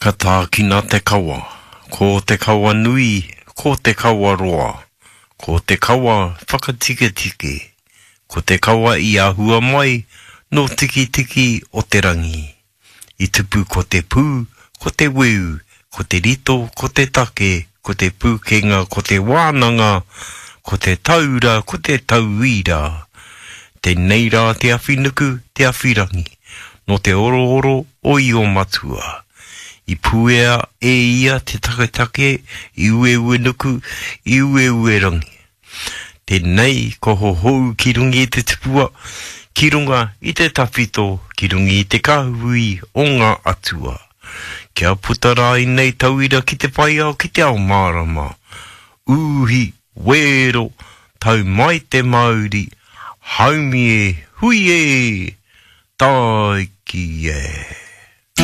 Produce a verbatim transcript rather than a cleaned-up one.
Ka tākina te kawa, ko te kawa nui, ko te kawa roa, ko te kawa whakatiketike, ko te kawa i ahua mai nō Tikitiki o te rangi. I tupu ko te pū, ko te weu, ko te rito, ko te take, ko te pūkenga, ko te wānanga, ko te taura, ko te tauira. Tēnei rā te awhinuku, te awhirangi, nō te orooro o Io Matua. I puea e ia te taketake i Ueuenuku, i Ueuerangi. Tēnei ko hohou ki runga i te tupua, ki runga i te tawhito, ki runga i te kāhui o ngā atua. Kia puta rā ēnei tauira ki te whai ao ki te ao mārama. Uhi, wero, tau mai te mauri, haumi e, hui e, tāiki e.